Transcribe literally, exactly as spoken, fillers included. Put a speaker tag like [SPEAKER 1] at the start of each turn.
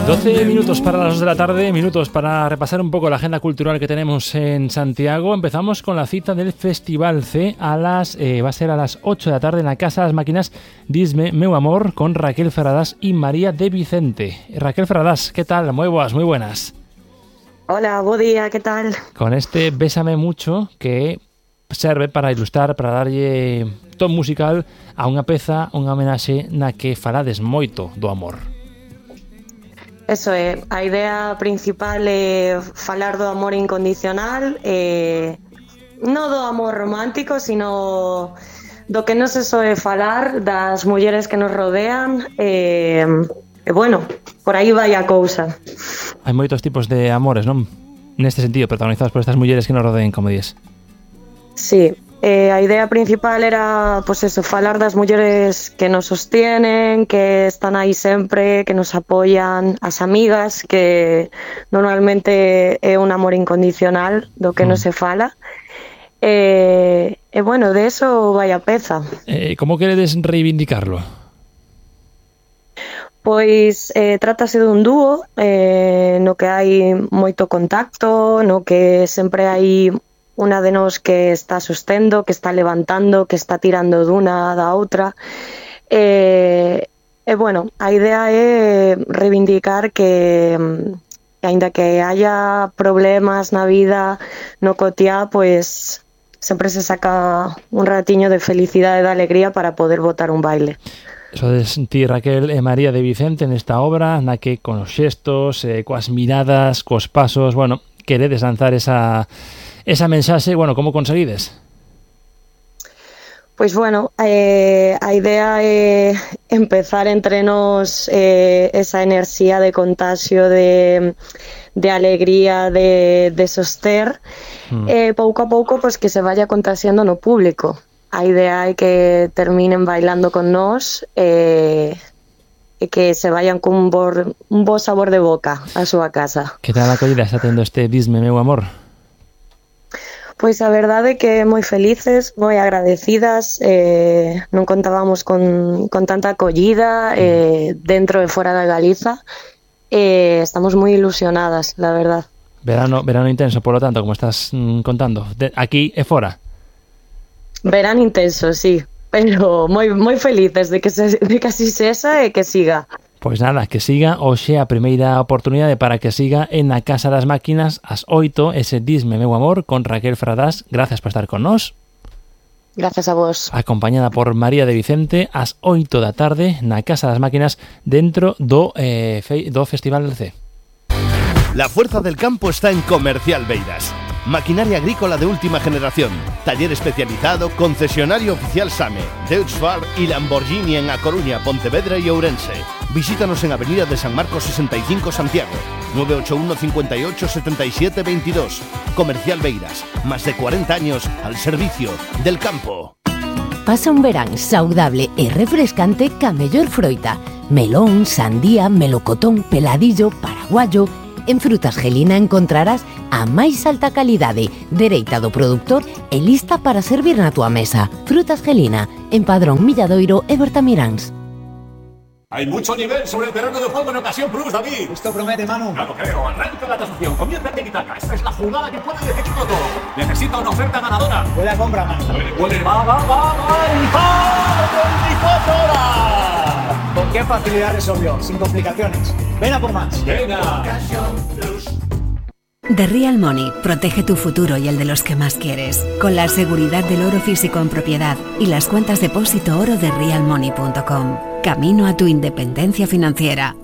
[SPEAKER 1] doce minutos para las dos de la tarde, minutos para repasar un poco la agenda cultural que tenemos en Santiago. Empezamos con la cita del Festival C a las eh, va a ser a las ocho de la tarde en la Casa de las Máquinas Disme Meu Amor con Raquel Ferradas y María de Vicente. Raquel Ferradas, ¿qué tal? Muy buenas, muy buenas.
[SPEAKER 2] Hola, buen día, ¿qué tal?
[SPEAKER 1] Con este Bésame Mucho que serve para ilustrar, para darlle ton musical a unha peza, unha homenaxe na que falades moito do amor.
[SPEAKER 2] Eso é, a idea principal é falar do amor incondicional, eh, non do amor romántico, sino do que non se soe falar, das mulleres que nos rodean, e, e bueno, por aí vai a cousa.
[SPEAKER 1] Hai moitos tipos de amores, non? Neste sentido, protagonizados por estas mulleres que nos rodeen, como dices.
[SPEAKER 2] Sí, eh, a idea principal era, pues eso, falar das mulleres que nos sostienen, que están aí sempre, que nos apoyan, as amigas, que normalmente é un amor incondicional do que mm. non se fala. E, e bueno, de eso vai a peza.
[SPEAKER 1] Eh, como queredes reivindicarlo?
[SPEAKER 2] Pois eh, trátase dun dúo eh, no que hai moito contacto, no que sempre hai unha de nós que está sostendo, que está levantando, que está tirando duna da outra. E, e bueno, a idea é reivindicar que, que aínda que haya problemas na vida, no cotiá, pois sempre se saca un ratiño de felicidade e de alegría para poder botar un baile.
[SPEAKER 1] Sodes ti, Raquel e María de Vicente nesta obra na que con os xestos, eh, coas miradas, cos pasos, bueno, queredes lanzar esa esa mensaxe, bueno, como conseguides?
[SPEAKER 2] Pois bueno, eh, a idea é empezar entre nós eh, esa enerxía de contaxio de, de alegría, de, de soster, mm. e eh, pouco a pouco pois, que se vaya contaxiando no público. A idea é que terminen bailando con nós e, e que se vayan cun bo, un bo sabor de boca a súa casa.
[SPEAKER 1] Que tal a acollida está tendo este Disme Meu Amor?
[SPEAKER 2] Pois a verdade é que moi felices, moi agradecidas, eh, non contábamos con, con tanta acollida eh, dentro e fora da Galiza, e eh, estamos moi ilusionadas, la verdad.
[SPEAKER 1] Verano, verano intenso, por lo tanto, como estás mm, contando, de, aquí e fora.
[SPEAKER 2] Verán intenso, sí, pero moi moi felices de que se, de que así sexa e que siga.
[SPEAKER 1] Pois nada, que siga hoxe a primeira oportunidade para que siga en a Casa das Máquinas ás oito, ese Disme Meu Amor con Raquel Ferradas. Gracias por estar con nós.
[SPEAKER 2] Gracias a vos.
[SPEAKER 1] Acompañada por María de Vicente ás oito da tarde na Casa das Máquinas dentro do, eh, fe, do Festival del C.
[SPEAKER 3] La fuerza del campo está en Comercial Beiras. Maquinaria agrícola de última generación, taller especializado, concesionario oficial SAME, Deutz-Fahr y Lamborghini en A Coruña, Pontevedra y Ourense. Visítanos en Avenida de San Marcos sesenta y cinco Santiago, nueve ocho uno, cinco ocho, siete siete dos dos. Comercial Beiras, más de cuarenta años al servicio del campo.
[SPEAKER 4] Pasa un verán saudable e refrescante ca mellor froita. Melón, sandía, melocotón, peladillo, paraguayo. En Frutas Gelina encontrarás a máis alta calidade, dereita do produtor e lista para servir na tua mesa. Frutas Gelina, en Padrón, Milladoiro e Bertamiráns.
[SPEAKER 5] Hay mucho nivel sobre el terreno de juego en Ocasión Plus, David.
[SPEAKER 6] Esto promete, Manu.
[SPEAKER 5] No lo creo. Arranca la tasación. Conviértete en Itaca. Esta es la jugada que puede decidirlo todo. Necesita una oferta ganadora.
[SPEAKER 6] Huele a compra, Manu.
[SPEAKER 5] Huele, huele, va, va, va, va. ¡Y va! veinticuatro horas!
[SPEAKER 6] ¿Con qué facilidad resolvió? Sin complicaciones. Ven a por más.
[SPEAKER 5] Venga.
[SPEAKER 6] Ocasión Plus.
[SPEAKER 7] The Real Money protege tu futuro y el de los que más quieres, con la seguridad del oro físico en propiedad y las cuentas depósito oro de real money punto com. Camino a tu independencia financiera.